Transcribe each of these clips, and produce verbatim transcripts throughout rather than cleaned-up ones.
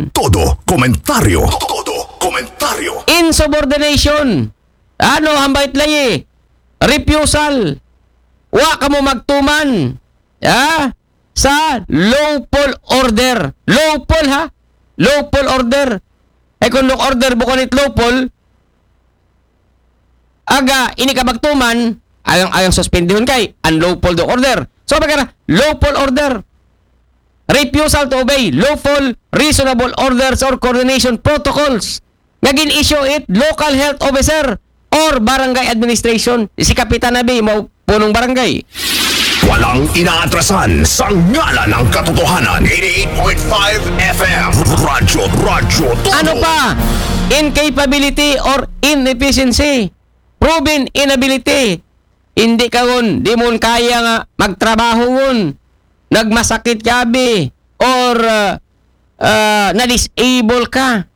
Todo komentaryo. Todo komentaryo. Insubordination. Ano, hambay it layi? Refusal. Wa kamo magtuman. Ha? Sa lawful order. Lawful, ha? Lawful order. Eh, kung order bukon it lawful, aga, ini ka magtuman, ayang, ayang suspendihon kay unlawful daw order. So, pagka lawful order, refusal to obey lawful, reasonable orders or coordination protocols nga gin-issue it local health officer or barangay administration. Si Kapitan Abi, mao punong barangay. Walang inaatrasan sa ngalan ng katotohanan. Eighty-eight point five F M. Radyo, Radyo Todo. Ano pa? Incapability or inefficiency. Proven inability. Hindi ka ron, di mo kaya nga magtrabaho ron. Nagmasakit ka, abi, or uh, uh, na-disable ka.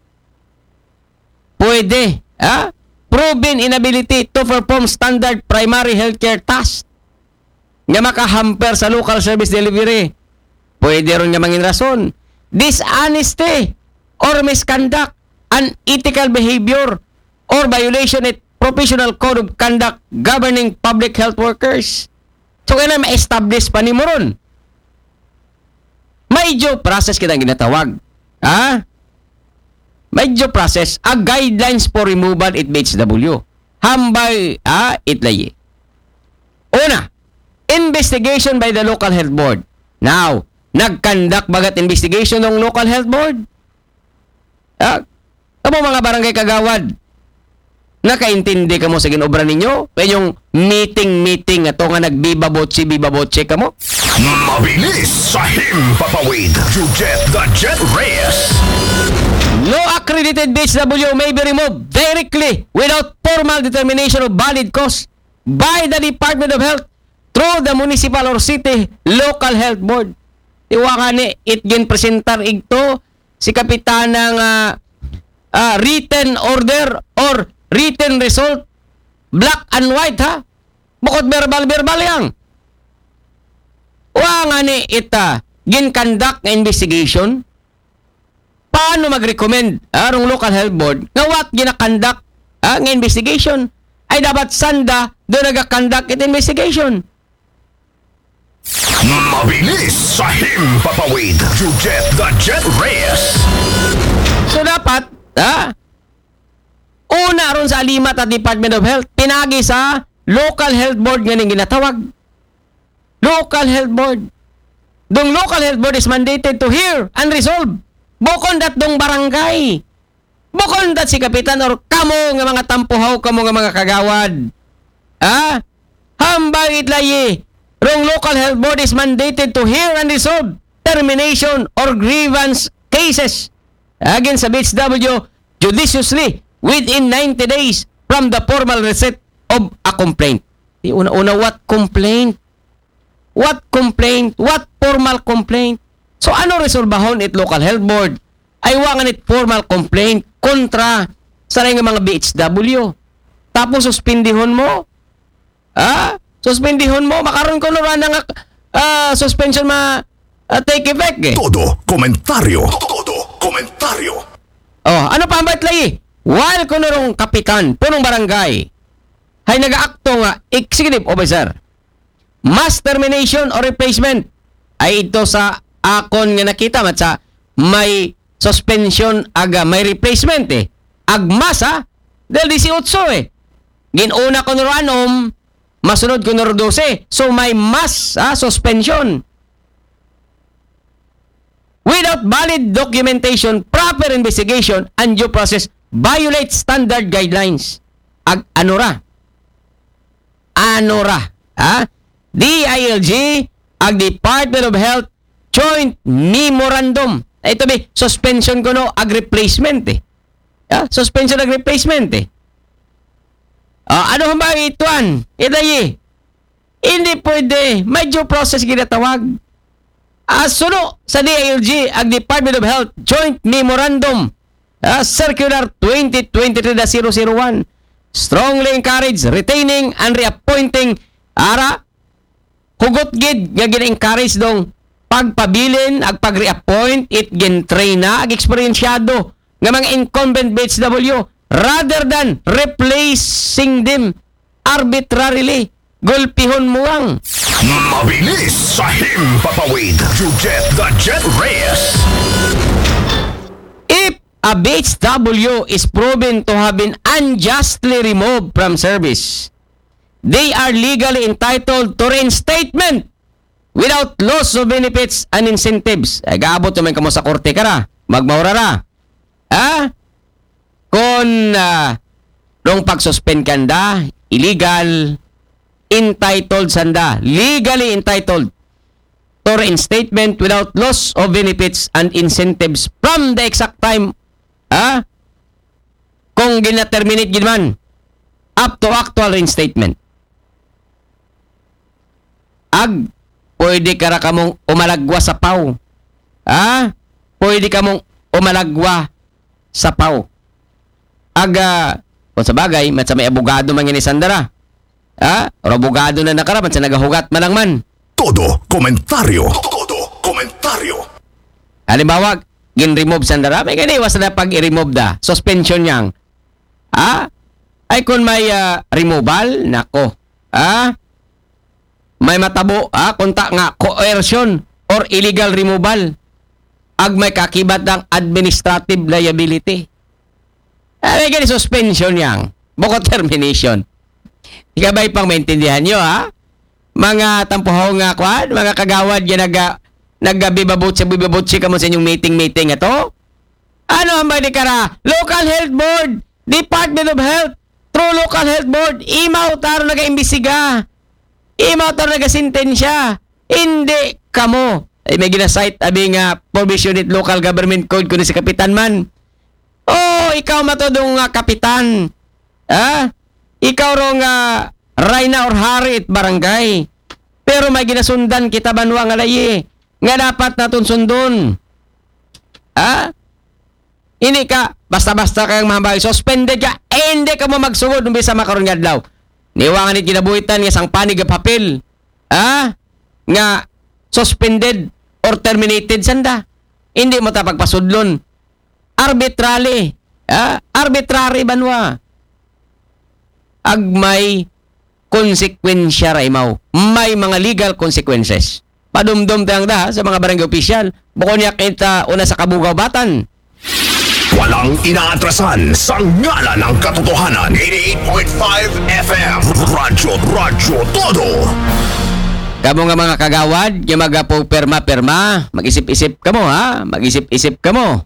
Pwede. Ha? Proven inability to perform standard primary healthcare task nga makahamper sa local service delivery. Pwede ron nga mangin rason. Dishonesty or misconduct, unethical behavior, or violation it professional code of conduct governing public health workers. So, kailangan ma-establish pa nimo ron. May due process kita ginatawag. Ha? May due process, a guidelines for removal it B H W. Hambay, ha? It layi. Una, investigation by the local health board. Now, nag-conduct ba gat investigation ng local health board? Ha? Kamo mga barangay kagawad, nakaintindi kamo sa ginobra ninyo? Kayong meeting-meeting ato nga nagbibabotsi-bibabotsi kamo? Mabilis sa himpapawid. You get the Jet Reyes. No accredited B H W may be removed directly without formal determination of valid cause by the Department of Health through the municipal or city local health board. Tiwa nga ni, it gin presentar igto si Kapitana nga ah, written order or written result, black and white, ha? Bukod verbal-verbal yang. Wa nga ni ita gin-conduct nga investigation. Paano mag-recommend, ah, rong local health board nga what gina-conduct, ah, nga investigation? Ay dapat sanda do naga-conduct it investigation. Mabilis sa himpapawid. You get the Jet Reyes. So dapat, ha? Una ron sa alimat at Department of Health, pinagi sa local health board nga ning ginatawag. Local health board. Dong local health board is mandated to hear and resolve. Bukon dat dong barangay. Bukon dat si kapitan or kamo nga mga tampuhaw, kamo nga mga kagawad. Ha? Hambay it layi. Rong local health board is mandated to hear and resolve termination or grievance cases against sa B H W judiciously within ninety days from the formal receipt of a complaint. Di una-una, what complaint? What complaint? What formal complaint? So, ano resolbahon it local health board? Ay wa nga nit formal complaint kontra sa nga mga B H W. Tapos, suspendihon mo? Ha? Suspendihon mo? Makaron ko no nga, ah, suspension ma, ah, take effect eh. Todo komentaryo. Todo komentaryo. Oh, ano pa ang batlay? While kuno rong kapitan, punong barangay, hay nagaakto nga executive officer, mass termination or replacement. Ay ito sa akon nga nakita, mat sa may suspension aga may replacement eh. Agmas ha, dahil disiotso eh. Ginuna ko nuro anom, masunod ko nuro dose. So may mass ha, suspension. Without valid documentation, proper investigation, and due process, violate standard guidelines. Ag ano ra? Ano ra? Ha? D I L G, ag Department of Health, joint memorandum. Ito bi, suspension ko no, ag replacement eh. Ha? Suspension ag replacement eh. Ah, ano hambang ituan? Ito yi. Hindi pwede. May due process ginatawag. Ah, suno sa D I L G, ag Department of Health, joint memorandum, ah, circular twenty twenty-three dash zero zero one. Strongly encourage retaining and reappointing ara hugot gid nga gina-encourage dong agpabilin, agpag-reappoint, it gintrain na, ag-eksperyensyado nga mga incumbent B H W rather than replacing them arbitrarily. Gulpihon mo ang. Mabilis sa himpapawid. You get the jet race. If a B H W is proven to have been unjustly removed from service, they are legally entitled to reinstatement without loss of benefits and incentives. Ay, gaabot naman kamo sa korte ka ra. Magmaura ra. Ha? Kung uh, rong pag-suspend kanda, illegal, entitled sanda, legally entitled to reinstatement without loss of benefits and incentives from the exact time, ha? Kung gina-terminate gid man, up to actual reinstatement. Ag, pwede ka ra kamong umalagwa sa paw. Ha? Pwede kamong umalagwa sa paw. Ag, ah, kung sa bagay, mat sa may abogado man gani sanda ra. Ha? Or abogado na nakaraman sa nagahugat man lang man. Todo komentaryo. Todo komentaryo. Halimbawa, gin-remove sanda ra, may ganiwas na pag i-remove da. Suspension niyang. Ha? Ay kung may ah, removal, nako. Ha? May matabo, ha? Kunta nga coercion or illegal removal. Ag may kakibat ng administrative liability. Ay, gani suspension yang. Bukod termination. Ikabay pang maintindihan nyo, ha? Mga tampuhaw nga kwan, mga kagawad, yan naga, nagabibabutsi-bibabutsi kamo sa inyong meeting-meeting ato. Ano ang bali kara? Local Health Board, Department of Health, through Local Health Board, imaw taro naga-imbestiga. Imaw taro naga-sentensya. Hindi kamo. Ay, may ginasite abi nga provision it local government code kundi si kapitan man. Oh, ikaw matodong nga kapitan. Ha? Ikaw ro nga rayna or hari it barangay. Pero may ginasundan kita banwa nga layi nga dapat naton sundon. Ha? Hindi ka basta-basta kayang mahambal. Suspended ka. Eh, hindi ka mo magsugod umbisa makaron nga adlaw. Niwangan it ginabuhitan nga sang panig nga papel. Ha? Nga suspended or terminated sanda. Hindi mo ta pagpasudlon. Arbitrarily. Ha? Arbitrary banwa. Ag may konsekwensya ra imaw. May mga legal consequences. Padumdom tayang da sa mga barangay opisyal. Bukon niya kita una sa kabugawbatan. Walang inaatrasan sa ngalan ng katotohanan. eighty-eight point five F M. Radyo, Radyo Todo. Kamo nga mga kagawad, nga magapupirma-pirma, mag-isip-isip kamo ha, mag-isip-isip kamo.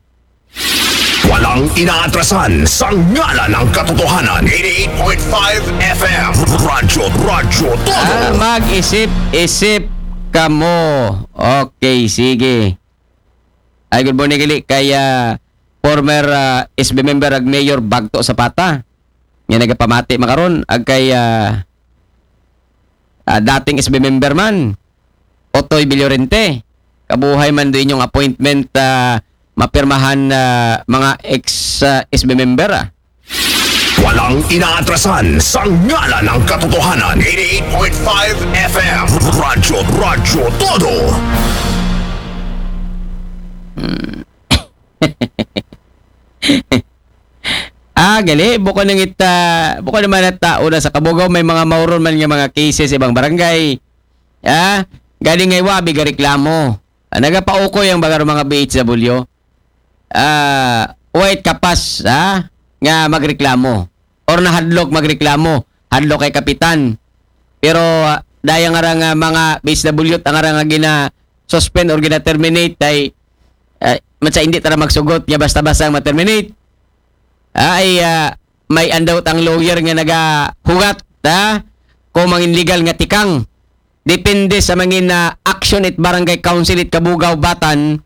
Walang inaatrasan sa ngalan ng katotohanan. eighty-eight point five F M. Radyo, Radyo Todo. Ah, mag-isip-isip kamo. Okay, sige. Ay, good morning, Kili. Kay ah, former ah, S B member ag Mayor Bagto Zapata. Nga nagapamati makaron ag kay ah, ah, dating S B member man, Otoy Villorente. Kabuhay man do inyong appointment ah, mapirmahan ah, mga ex ah, S B member ah. Walang inaatrasan sa ngalan ng katotohanan. eighty-eight point five F M. Radyo, Radyo Todo. Ah, gali, bukon nang ita, bukon naman at tao na sa Kabugaw, may mga mauron man nga mga cases sa ibang barangay. Ah, galing ngay wabi ga reklamo. Ah, nagapaukoy ang baga mga B H W. Ah, wait kapas, ha? Nga magreklamo. Or nahadlok magreklamo. Hadlok kay kapitan. Pero ah, daya nga ra nga mga B H W at ang ara nga gina-suspend or gina-terminate ay ah, matsa hindi tara magsugot nga basta-basta ang ma-terminate. Ay ah, may andawt ang lawyer nga nagahugat, ha? Kung mangin legal nga tikang. Depende sa mangin na action it barangay council it Kabugaw Batan,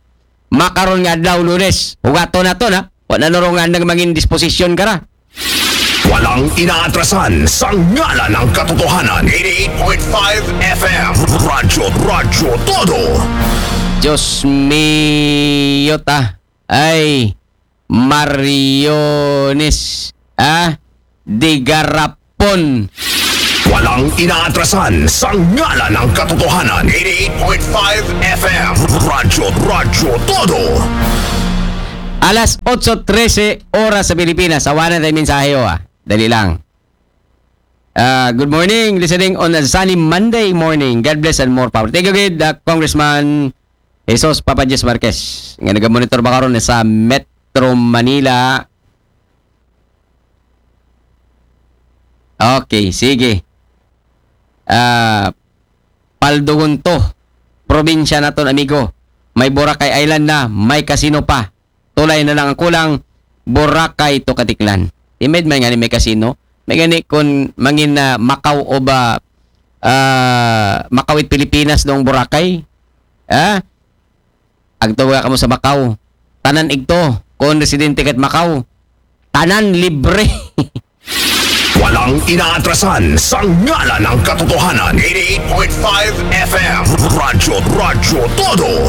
makaron nga adlaw Lunes. Hugaton nato na. Wa na nuro nga nang mangin disposisyon ka ra. Walang inaatrasan sa ngalan ng katotohanan. eighty-eight point five F M. Radyo, Radyo Todo. Diyos mio ta. Ay, Mariones. Ah, Digarapon. Walang inaatrasan sa ngalan ng katotohanan. Eighty-eight point five F M. Radyo, Radyo Todo. Alas otso trese oras sa Pilipinas. Awanan tayo mensahe, oh, ah. Dali lang. Ah, good morning. Listening on a sunny Monday morning. God bless and more power. Thank you, good, ah, Congressman Jesus Papa Diyos Marquez. Nga nagamonitor ba karon sa Metro Manila? Okay, sige. Ah, Paldugon to. Probinsya naton, amigo. May Boracay Island na, may casino pa. Tulay na lang ang kulang, Boracay to Caticlan. Timed man gani may casino. May gani kung mangin na Macau o ba, ah, Macau it Pilipinas noong Boracay. Ah? Agto ka mo sa Macau. Tanan igto, kung residente kat Macau. Tanan libre. Walang inaatrasan sa ngalan ng katotohanan. Eighty-eight point five F M. Radyo, Radyo Todo.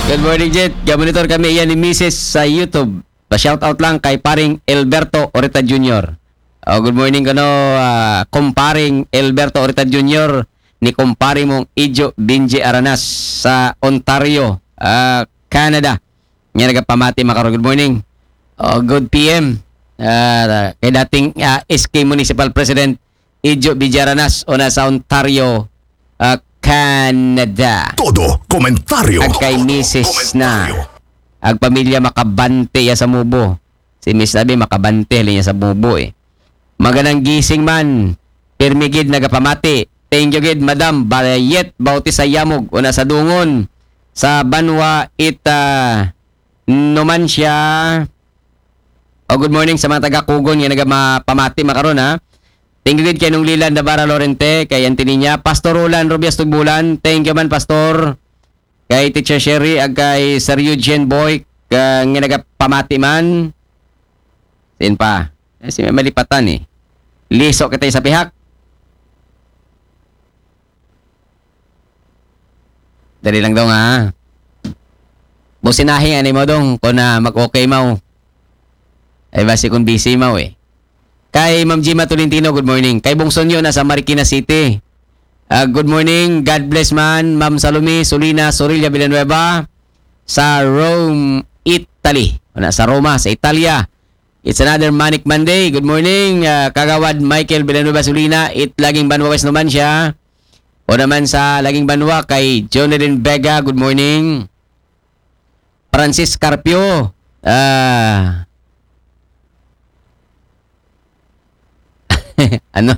Good morning, Jet. Gamonitor kami iyan ni Misis sa YouTube. Pa-shoutout lang kay paring Alberto Orita Junior. Oh, good morning kano, ah, kumparing Alberto Orita Junior ni kumpare mong Ijo Binji Aranas sa Ontario, ah, Canada. Nga nagapamati makaron. Good morning. Oh, good P M. Ah, kay dating, ah, S K Municipal President Ijo Binji Aranas o na sa Ontario, ah, Canada. Todo komentaryo. Ag kay misis na. Ag pamilya makabante ya sa mubo. Si Miss Nabi makabante halin ya sa mubo eh. Maganang gising man. Pirmi gid nagapamati. Thank you gid, Madam Bayet Bautista Yamog, una sa Dungon, sa Banwa, Ita, Numancia. Oh, good morning sa mga taga Kugon nga nagapamati makaron, ha. Thank you gid kay Nung Lilan Navarra Lorente, kay Antilia, Pastor Roland Rubias Tugbulan. Thank you man, Pastor. Kay Teacher Sherry, ag kay Sir Eugene Boy, ka, nga nagapamati man. Sin pa? Eh, si malipatan eh. Liso kita sa pihak. Dali lang daw nga. Businahi ani mo dong kung na mag-okay mo. Ay basi kung busy mo eh. Kay Ma'am Gima Tolentino, good morning. Kay Bong Sonyo na sa Marikina City. Ah, good morning. God bless man. Ma'am Salome Solina Sorilla Villanueva sa Rome, Italy. Wala, sa Roma, sa Italia. It's another Manic Monday. Good morning, ah, Kagawad Michael Villanueva Solina. It Laging Banwa West naman siya. O naman sa Laging Banwa kay Jonelyn Vega. Good morning. Francis Carpio. Ah, ano?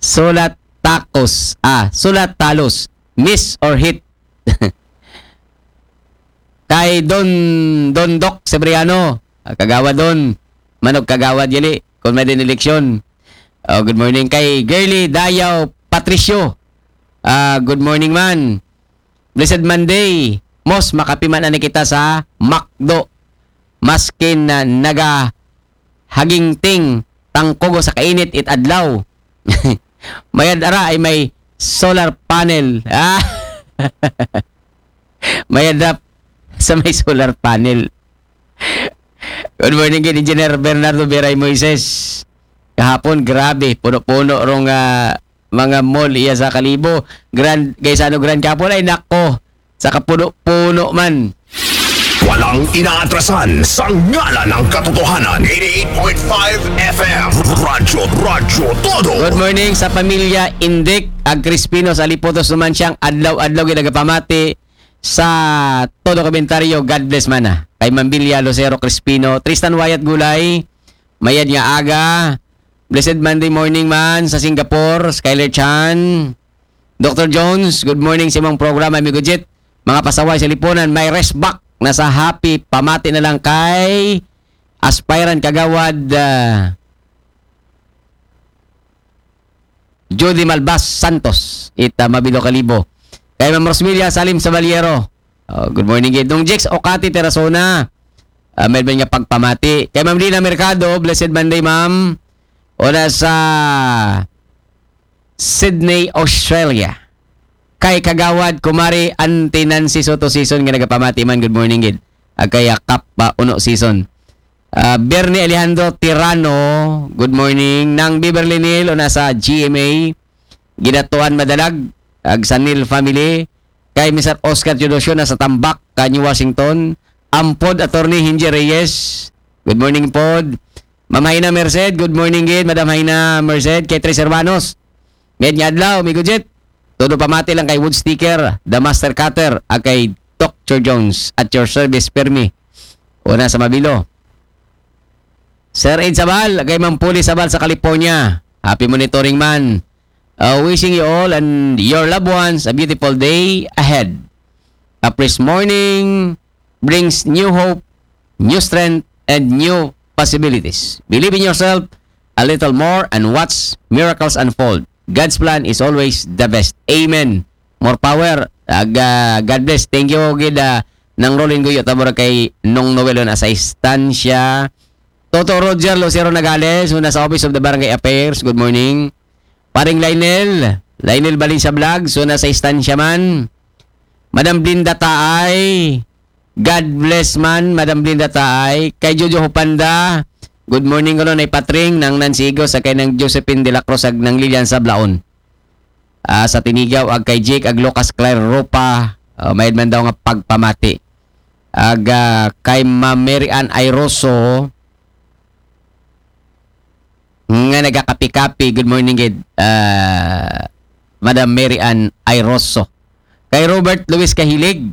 Sulat takos. Ah, sulat talos. Miss or hit? Kay Don, Don Doc Sebriano. Ah, Kagawad Don. Manog Kagawad yali. Kung may din eleksyon. Oh, good morning kay Girly Dayaw Patricio. Ah, good morning man. Blessed Monday. Mos, makapiman ani kita sa McDo. Maskin na naga hagingting tangkugo sa kainit it adlaw. Mayad ara ay may solar panel. Ah. Mayad ra sa may solar panel. Good morning, gid Engineer Bernardo Beray Moises. Kahapon, grabe, puno-puno rong, ah, mga mall iya sa Kalibo. Grand, kay sa ano, Grand Kapon, ay nako, sa kapuno-puno man. Walang inaatrasan sa ngalan ng katotohanan. Eighty-eight point five F M. Radyo, Radyo Todo. Good morning sa pamilya Indik ag Crispino sa Lipotos naman siyang adlaw-adlaw ginagapamati sa todo komentaryo. God bless mana. Kay Mambilya Lucero Crispino, Tristan Wyatt Gulay, mayad nga aga. Blessed Monday morning man sa Singapore, Skyler Chan. Doctor Jones, good morning sa imong programa, amigo Jet. Mga pasaway sa lipunan, may rest back na sa happy. Pamati na lang kay aspirant Kagawad, ah, Judy Malbas Santos, ita Mabilo Kalibo. Kay Ma'am Rosmelia Salim Sabaliero. Oh, good morning, gid. Dong Jex Okati Terasona. Ah, may nga pagpamati. Kay Ma'am Lina Mercado, blessed Monday, ma'am. Una sa Sydney, Australia. Kay Kagawad, Kumari, Auntie Nancy Soto Season nga nagapamati man, good morning, gid. Ag kay Kap pa Uno Season. Ah, Bernie Alejandro Tirano, good morning. Nang Beverly Neal, una sa G M A. Ginatuan Madalag, ag Sanil family, kay Mister Oscar Teodosio na sa Tambak, ka New Washington, Ampod Attorney Hinji Reyes, good morning pod. Ma'am Haina Merced, good morning gid, Madam Haina Merced, kay Tres Hermanos. Mayad nga adlaw, Migo Jet. Todo pamati lang kay Wood Sticker, The Master Cutter, ag kay Doctor Jones, at your service, Permi. Una sa Mabilo. Sir Ed Sabal, kay Ma'am Puli Sabal sa California. Happy monitoring man. Uh, wishing you all and your loved ones a beautiful day ahead. A fresh morning brings new hope, new strength, and new possibilities. Believe in yourself a little more and watch miracles unfold. God's plan is always the best. Amen. More power. Ag, ah, God bless. Thank you gid, ah, Nang Rolin Guyo, tabor kay Nong Noel na sa Estancia. Toto Roger Lucero Nagales, una sa Office of the Barangay Affairs. Good morning. Paring Lionel, Lionel Valencia Vlogs, una sa Estancia man. Madam Blinda Taay, God bless man, Madam Blinda Taay. Kay Jojo Hupanda, good morning kuno, Nay Patring, Nang Nancy Igos, ag kay Nang Josephine de la Cruz, ag Nang Lilian Sablaon. Ah, sa Tinigaw, ag kay Jake, ag Lucas Claire Ropa, ah, mayad man daw nga pagpamati. Ag, ah, kay Ma'am Mary Ann Airoso, nga nagakapi-kapi, good morning gid, ah, Madam Mary Ann Airoso. Kay Robert Luis Kahilig,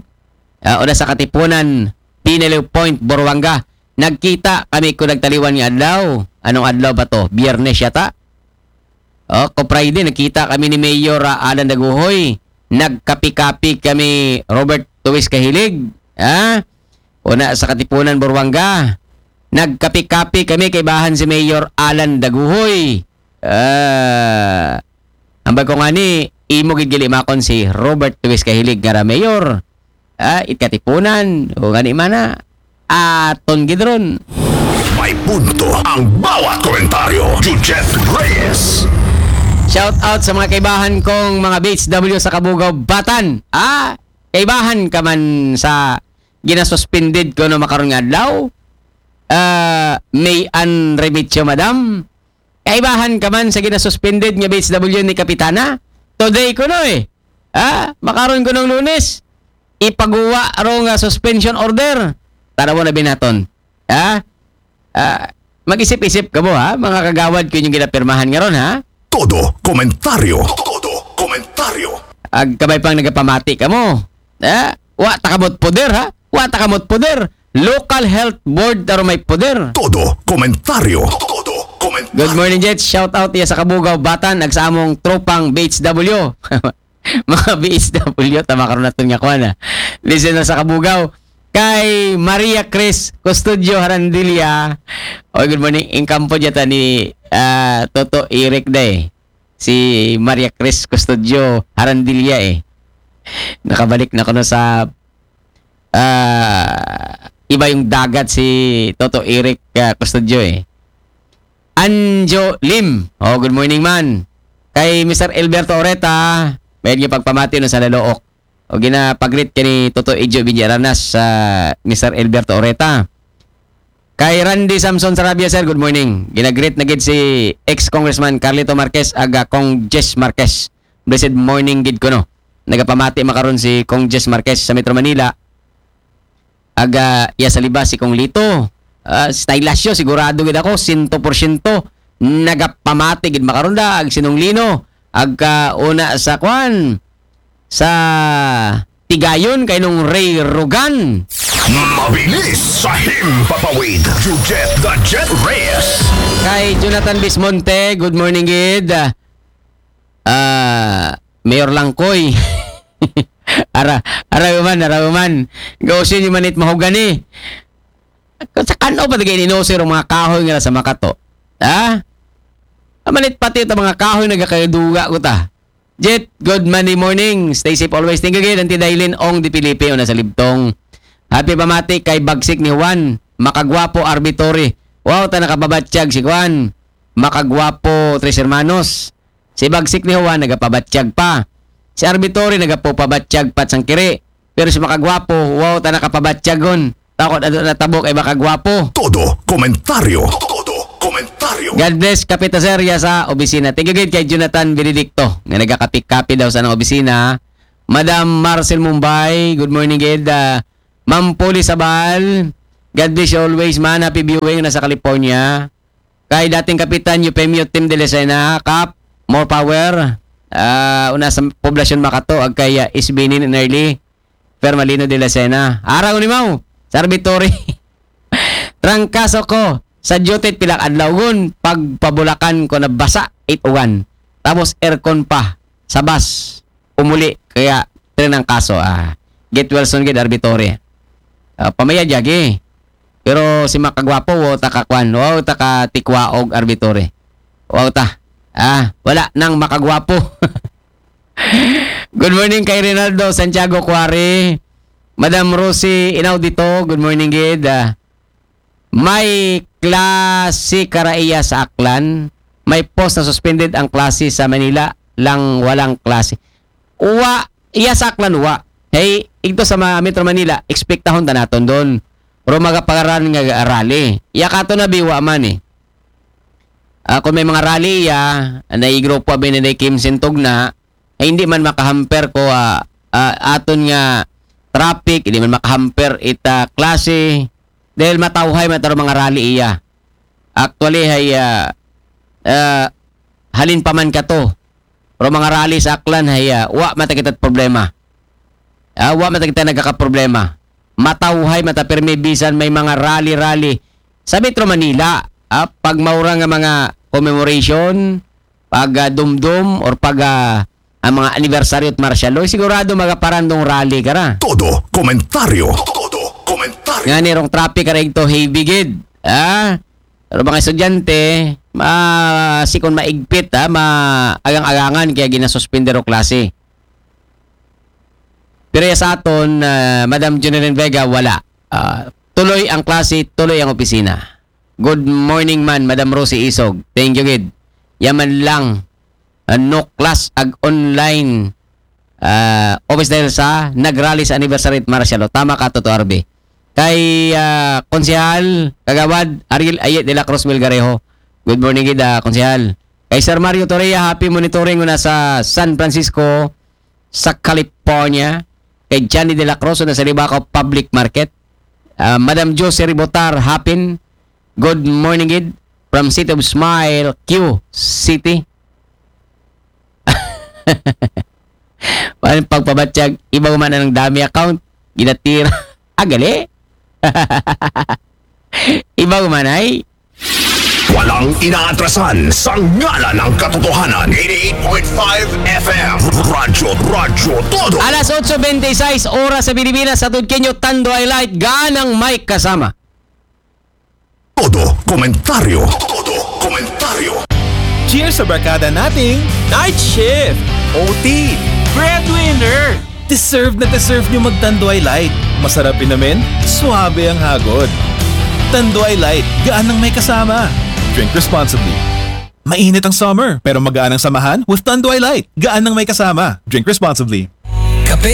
ah, una sa Katipunan, Pinelew Point, Boruanga. Nagkita kami ko nagtaliwan nga adlaw. Anong adlaw ba to? Biyernes yata? O, ko Friday, nagkita kami ni Mayor, ah, Alan Daguhoy. Nagkapi-kapi kami, Robert Luis Kahilig. Ha? Una sa Katipunan, Boruanga. Nagkapi-kapi kami kay bahan si Mayor Alan Daguhoy. Ah, ambag ko ngani, imo gid gilimakon si Robert Luis Kahilig nga ra mayor. Ah, it Katipunan, o ngani man na. Aton gid ron. May punto ang bawat komentaryo. Jujet Reyes. Shout out sa mga kaibahan kong mga B H W sa Kabugaw, Batan. Ah, kaibahan ka man sa ginasuspended kuno makaron nga adlaw? Ah, May Ann Remedios, madam. Kaibahan ka man sa ginasuspended nga B H W ni Kapitana? Today kuno eh. Ha? Makaron kunong Lunes. Ipaguwa ro nga suspension order. Tanaw na binaton. Ha? Ah, mag-isip-isip kamo, ha? Mga kagawad ko inyong ginapirmahan nga ron, ha? Todo komentaryo. Todo komentaryo. Ag kabay pang nagapamati kamo. Ha? Wa ta kamot poder, ha? Wa ta kamot poder. Local Health Board taro may poder. Todo komentaryo. Todo komentaryo. Good morning, Jet. Shout out iya sa Kabugaw, Batan, ag sa among tropang B H W. Mga B H W, tama karon naton nga kuan, ah. Listener sa Kabugaw. Kay Maria Chris Custodio Harandilla. Oy, good morning. Ingkampo dyan ta ni, ah, Toto Eric Day. Si Maria Chris Custodio Harandilla eh. Nakabalik na kuno sa, ah, iba yung dagat si Toto Eric, ah, Custodio eh. Anjo Lim. Oh, good morning man. Kay Mister Alberto Oreta, may niya pagpamati no sa Lalook. O ginapagrit kini Toto Ijo Villagranas sa Mister Alberto Oreta. Kay Randy Samson Sarabia, sir, good morning. Ginagrit na gid si ex-congressman Carlito Marquez, aga Cong Jess Marquez. Blessed morning gid kuno. Nagapamati makaron si Cong Jess Marquez sa Metro Manila. Aga iya sa libas si Cong Lito. Ah, stylasyo, sigurado gid ako, sento porsyento. Nagapamati gid makaron da, ag sinunglino. Agka una sa kwan, sa Tigayon kay nung Ray Rugan. Mabilis sa himpapawid. Jujet the Jet Reyes. Kay Jonathan Bismonte, good morning gid. Ah, Mayor Langkoy. Ara, ara man, ara man. Gawsin yung manit mahogani. Sa kano pa tagay ni Nosir ang mga kahoy nga sa Makato? Ha? Manit pati ta mga kahoy nagakaduga ko ta. Jet, good Monday morning. Stay safe always. Thank you again, Auntie Dailin Ong de Felipe, una sa Libtong. Happy pamati kay Bagsik ni Juan. Makagwapo, Arbitori. Wow, ta nakababatyag si Juan. Makagwapo, Tres Hermanos. Si Bagsik ni Juan, nagapabatyag pa. Si Arbitori, nagapabatyag pa sang kiri. Pero si Makagwapo, wow, ta nakapabatyagon. Takot ato na tabok ay Makagwapo. Todo komentaryo. Todo Komentaryo. God bless, Kapita Sir, ya sa obisina. Thank you gid kay Jonathan Benedicto, nga nagakapikapi daw sa nang obisina. Madam Marcel Mumbai, good morning gid. Ah, Ma'am Poli Sabal, God bless you always, man. Happy viewing na sa California. Kay dating kapitan, Eufemio Tim de Lucena, Kap, more power. Ah, una sa poblasyon makato, ag kay ah, Isbinin and Early, Fermalino de Lucena. Arang unimaw, sa Arbitory. Trangkaso ko, sa duty pila adlaw gun, pagpabulakan ko nabasa, it uwan. Tapos aircon pa, sa bus, umuli, kaya trinangkaso. Ah, get well soon gid, Arbitory. Ah, pamaya jagi. Pero si makagwapo, wow ta ka kwan, wow ta ka tikwaog, Arbitory. Wow ta. Ah, wala nang makagwapo. Good morning kay Rinaldo Santiago Cuare. Madam Rosie Inaudito, good morning gid. Ah, may klase karaiya sa Aklan. May post na suspended ang klase sa Manila lang walang klase. Wa, iya sa Aklan wa. Hey, igto sa ma- Metro Manila, expectahon ta naton doon. Pero magapagaran nga rally. Iya kato na biwa man eh. Ah, kung may mga rally iya, na grupo abi na Kim Sintog na, ay hindi man makahamper ko ah, ah, aton nga traffic, hindi man makahamper ita klase dahil matawhay man taro mga rally iya. Actually hay ah, ah, halin pa man kato. Pero mga rally sa Aklan hay ah, wa man ta kita problema. Ah, wa man ta kita nagkakaproblema. Matawhay man ta pirmi bisan may mga rally-rally sa Metro Manila. Ah, pag maura nga mga commemoration, pag ah, dumdum or pag ah, ang mga anibersaryo at martial law, sigurado magaparandong rally ka ra. Todo komentaryo. Todo komentaryo. Nga ni rong traffic ka ra igto heavy gid. Ah, pero mga estudyante, ma sikon maigpit ha, ma agang-agangan kaya ginasuspender o klase. Pero ya sa aton, ah, Madam Junilin Vega, wala. Ah, tuloy ang klase, tuloy ang opisina. Good morning man, Madam Rosie Isog. Thank you gid. Yaman lang, ah, no class ag online ah, office dahil sa nagrally sa anniversary at martial law. Tama ka, Toto Arby. Kay ah, Konsehal, Kagawad, Ariel Ayet de la Cruz Melgarejo. Good morning gid, ah, Konsehal. Kay Sir Mario Torreya, happy monitoring una sa San Francisco, sa California. Kay Johnny de la Cruz, una sa Libacao Public Market. Ah, Madam Josie Ribotar Hapin, good morning gid from City of Smile, Q City. Parang pagpabatyag, iba man ang dami account, ginatira. Agali? Iba man ay. Walang inaatrasan sa ngalan ng katotohanan. eighty-eight point five F M. Radyo, Radyo Todo. Alas otso bente y seis oras sa Pilipinas, sa Tudkenyo, Tando ay Light, ganang may kasama. Todo komentaryo. Todo komentaryo. Cheers sa barkada nating Night Shift, O T, Breadwinner. Deserve na deserve nyo mag-Tanduay Light. Masarap inumin, suabe ang hagod. Tanduay Light, gaan ng may kasama. Drink responsibly. Mainit ang summer, pero magaan ang samahan with Tanduay Light. Gaan ng may kasama. Drink responsibly. Kape